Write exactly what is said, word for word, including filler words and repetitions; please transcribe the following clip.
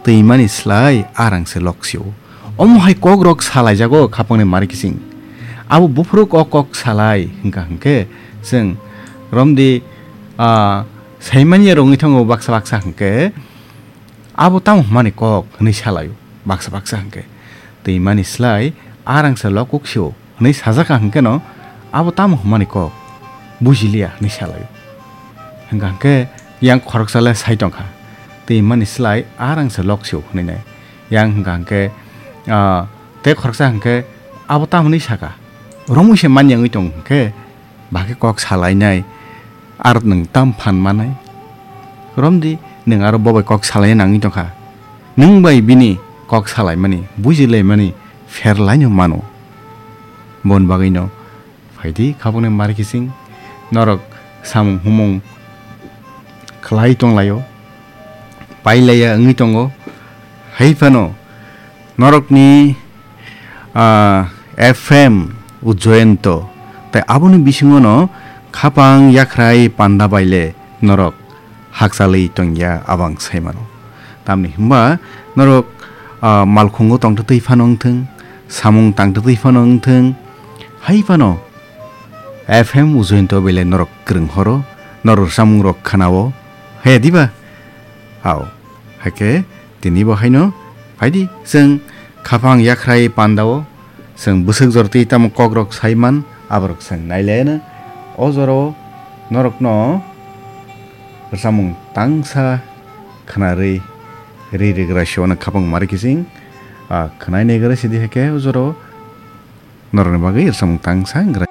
twimani slai arang se lok sio. Omo hai kok rok salai jago khapangni mari kising. Abo buphuru kok kok salai hwnkha hwnkhe chwng romdi, ah, saimanya rongwi thango baksa baksa hwnkhe, "Abo tamo hwnmani kok?" hwnwi salaio baksa baksa hwnkhe. Twimani slai arang se lok kuk sio. Hwnwi sajak kha hwnkhe no, "Abo tamo hwnmani kok? Bujiliya," hwnwi salaio. Hwnkha hwnkhe yang khoroksa le sai tongkha, "Twi mani slai arang se lok sio," hwnwi nai. Yang hwnkha hwnkhe, ah, tei khoroksa hwnkhe, "Abo tamo hwnwi saka? Romwi se manya wngwi tong hwnkhe, bahai khe kok salainai, aro nwng tam phan manai? Romdi, nwng aro bo bai kok salaina nangwi tongkha. Nwng bai bini kok salaimani, bujilaimani pher laino mano." Bon bagwino phaidi khabangni mari kising, norok samung humung khlai tonglaio, pailaiya wngwi tongo. Hai phano norokni, ah, F M Ujjayanto, tei aboni bisingono khapang yakhrai panda baile norok hakchalwi tongya abang saimano. Tamni hwnba norok, ah, malkhungo tongtwtwi phano wngthwng, samung tangtwtwi phano wngthwng, hai phano F M Ujjayanto belai norok kwrwng horo, norok samung rok khwnao, he diba? Ao, haikhe tini bo haino phaidi chwng khapang yakhrai pandao, chwng bwswk jortwi tamo kokrok saiman, aborok chwng nailaiano. O jorao norokno rwchapmung tangsa khwnarwi ri rigra sio no khapang mari kising, ah, khwnai naigra sidi haikhe o jorao norokni bagwi rwchapmung tangsa wngkha.